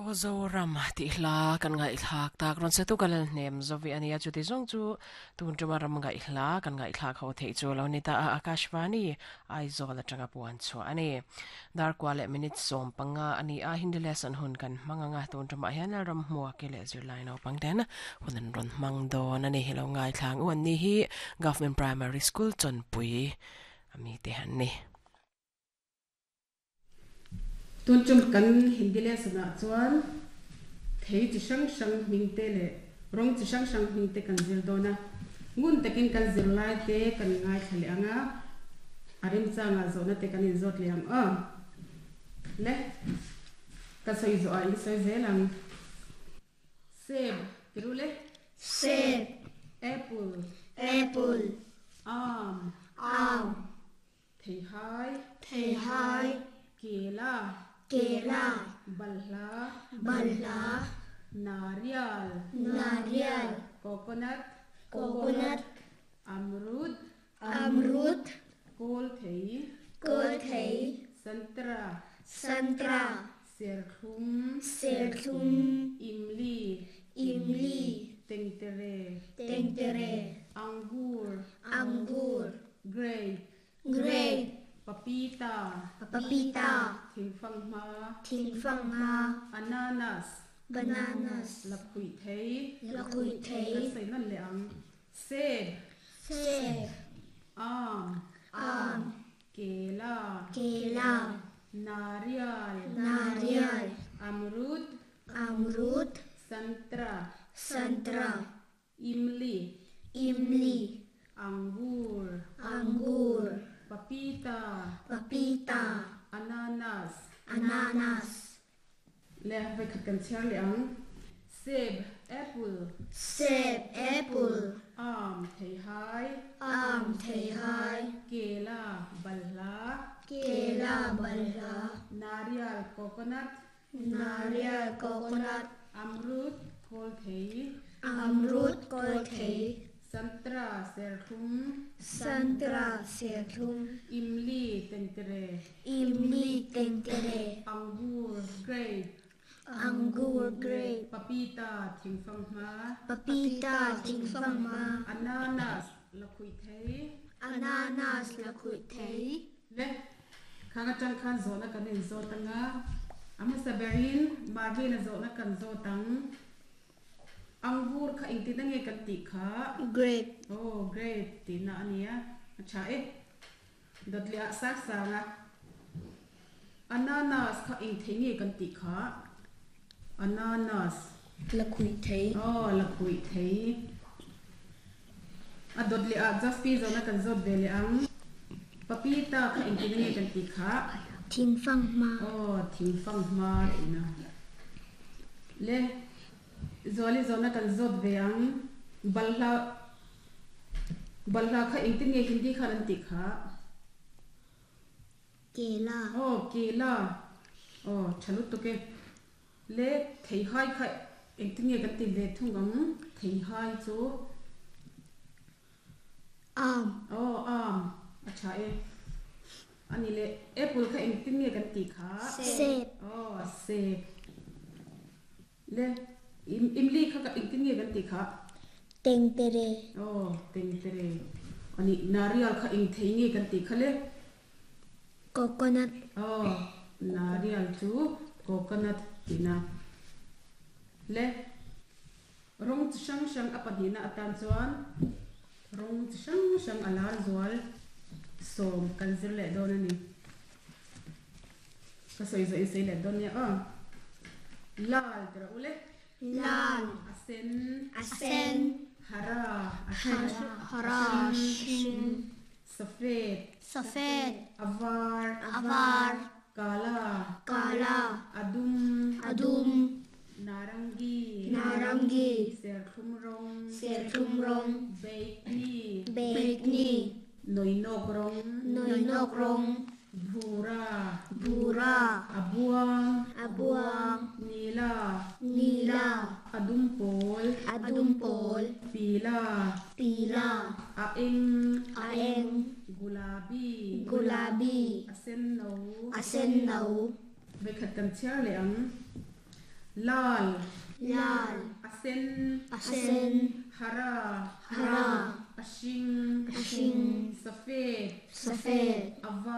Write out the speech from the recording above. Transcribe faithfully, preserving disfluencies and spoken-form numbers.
O Zoram ti hla kan ngai thlak tak ron se tu kalal hnem zovi ania chuti zong chu tun tuma ram ngai hla kan ngai thlak ho thei chu lo ni ta a Akashvani Aizawl atanga puan chu ani dar kwale minute som panga ani a Hindi lesson hun kan manganga tun tuma hian ram hmuwa ke le zirlai no pangten hunan ron mang don ani helo ngai thlang uan ni hi Government Primary School Chonpui ami te han ni. Tun chum kan Hindi lesson ah chuan thei chi hrang hrang hming te leh rawng chi hrang hrang hming te kan zir dawn a, ngun takin kan zir lai te kan ngai thla leh ang a, a remchangah zawhna te kan inzawt leh ang aw. Le ka sawi zawh ah in sawi zel ang. Seb tiru le. Seb. Apple. Apple. Aam. Aam. Theihai. Theihai. Kela. Kela. Balhla. Balhla. Nariyal. Nariyal. Coconut. Coconut. Amrud. Amrud. Kol thei. Kol thei. Santra. Santra. Serthlum. Serthlum. Imli. Imli. Tengtere. Tengtere. Angur. Angur. Grape. Grape. Papita. Papita. Thingfanghma. Thingfanghma. Ananas. Bananas. Lakhuih thei. Lakhuih thei. Kan sawi nawn leh ang. Seb. Seb. Aam. Aam. Kela. Kela. Nariyal. Nariyal. Amrud. Amrud. Santra. Santra. Imli. Imli. Angur. Angur. Papita. Papita. Ananas. Ananas. Le vai khat kan chhiar leh ang. Seb, apple. Seb, apple. Aam, theihai. Aam, theihai. Kela, balhla. Kela, balhla. Nariyal, coconut. Nariyal, coconut. Amrud, kol thei. Amrud, kol thei. Santra, serthlum. Santra, serthlum. Imli, tengtere. Imli, tengtere. Angur, grape. Angur, grape. Papita, thingfanghma. Papita, thingfanghma. Ananas, lakhuih thei. Ananas, lakhuih thei. Le, khang atang khan zawhna kan inzawt anga. Amasa berin, Marvin a zawhna kan zawt ang. Angur kha engtin ange kan tih kha? Grape. Oh, grape tihna ania. A tha e. Dawt leh ah sang sang a. Ananas kha eng thei nge kan tih kha? Ananas. Lakhuih thei. Oh, lakhuih thei. A dawt leh ah Jaspi zawhna kan zawt ve leh ang. Papita kha engtin ange kan tih kha? Thingfanghma. Oh, thingfanghma tihna. Le, Zuali zawhna kan zawt ve ang. Balhla, balhla kha engtin nge Hindi khan an tih kha? Kela. Oh, kela. Oh, tha lutuk e. Le, theihai kha engtin nge kan ti ve thung ang? Theihai chu? Aam. Oh, aam. A tha e. Ani le, apple kha engtin nge kan tih kha? Seb. Oh, seb. Le, imli kha engtin nge kan tih kha? Tengtere. Oh, tengtere. Ani nariyal kha eng thei nge kan tih kha le? Coconut. Oh, nariyal chu coconut tihna. Le, rawng chi hrang hrang a pahnihna atan chuan rawng chi hrang hrang a lar zual sawm kan zir leh dawn ani. Ka sawi zawh in sawi leh dawn nia aw. Lal tira u le. Lal. A sen. A sen. Hara. Hara. Hara. Hring. Safed. Safed. A var. A var. Kala. Kala. Adum. Adum. Narangi. Narangi. Serthlum rawng. Serthlum rawng. Baikni. Baikni. Noinok rawng. Noinok rawng. Bhura. Bhura. Abuang. Abuang. Nila. Nila. Adumpol. Adumpol. Pila. Pila. A eng. A eng. Gulabi. Gulabi. A sen no. A sen no. Vekhat kan chhiar leh ang. Lal Lal a sen a sen hara hara a hring a hring safed safed a var.